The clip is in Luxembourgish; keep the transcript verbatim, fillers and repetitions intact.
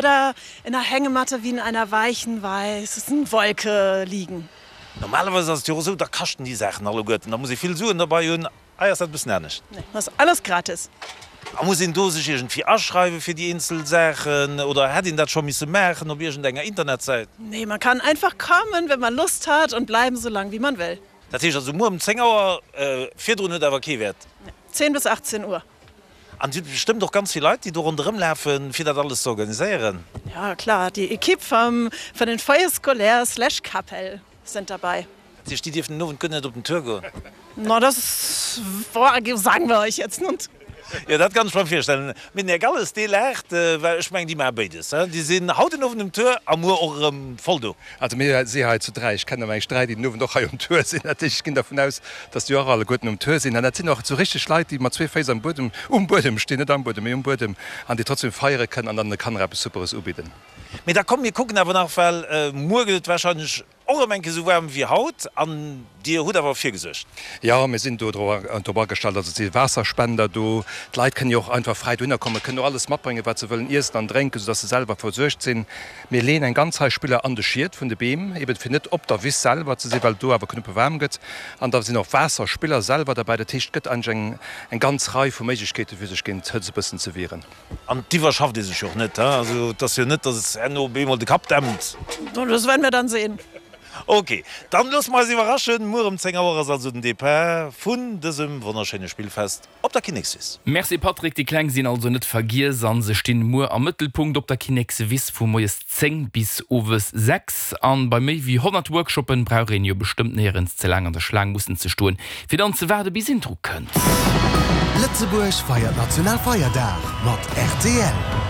Oder in der Hängematte wie in einer weichen, weißen Wolke liegen. Normalerweis ass et jo och esou, da kaschten déi Saachen alleguerten, da muss ee vill Suen derbei hunn. Hei ass dat e bëssen anescht. Nee, ass alles gratis. A muss een do sech iergendwéi aschreiwe fir déi eenzel Saachen oder hätt een dat scho misse maachen op iergendenger Internetsäit? Nee, man kann einfach kommen, wenn man Lust hat und bleiben so lang wie man will. Dat heescht also muer um zéng Auer, virdrun huet awer kee Wäert? Nee, zehn bis achtzehn Uhr. An et si bestëmmt och ganz vill Leit, déi do ronderëm lafen, fir dat alles ze organiséieren? Ja klar, die Equipe vom, von den Foyers scolaires slash Kapell sind dabei. Dat heescht, déi dierfen den Owend guer net op den Tour goen? Na, das sagen wir euch jetzt net. Jo, dat kann ech mer virstellen. Mee den Här Galles, dee laacht, well ech mengen, déi maache béides, he? Déi sinn haut den Owend um Tour a muer och erëm voll do. Also mir si hei zu dräi, ech kennen awer eigentlich dräi, déi den Owend och hei um Tour sinn. Dat heescht, ech ginn dervun aus, dass déi och alleguerten um Tour sinn. An dat sinn och esou richteg Leit, déi mat zwee Féiss am Buedem, um Buedem stinn, net am Buedem, mee um Buedem, an déi trotzdem feiere kënnen an dann de Kanner eppes Superes ubidden. Mee da komm, mir kucken awer nach, well muer gëtt et wahrscheinlech och erëm eng Kéier esou waarm wéi haut an Dir hutt awer virgesuergt. Jo, mir sinn do drop agestallt. Also et si Waasserspender do. D'Leit kënnen jo och einfach fräi dohinner kommen, kënnen och alles matbréngen, wat se wëllen iessen an drénken, soudass se selwer versuergt sinn. Mir leeën eng ganz Rei Spiller an de Schiet vun de Beem, eben fir net op der Wiss selwer ze sinn, well et do awer knuppe waarm gëtt. An da sinn och Waasserspiller selwer derbäi. Dat heescht, et gëtt eigentlech eng eng ganz Rei vu Méiglechkeeten, fir sech géint d'Hëtzt e bëssen ze wieren. An d'iwwerschafft ee sech jo och net, he? Also et ass jo net, datt et herno op eemol de Kapp dämpt. Das werden wir dann sehen. Ok, dann loosse mer eis iwwerraschen. Muer um zéng Auer ass also den Depart vun dësem wonnerschéine Spillfest op der Kinnekswiss. Merci Patrick, déi Kleng sinn also net vergiess an se stinn muer am Mëttelpunkt op der Kinnekswiss vu moies zéng bis owes sechs. An bei méi wéi honnert Workshoppen brauch een jo bestëmmt néierens ze laang an der Schlaang mussen ze stoen fir dann ze waarde bis een dru kënnt. Lëtzebuerg feiert Nationalfeierdag mat rtl.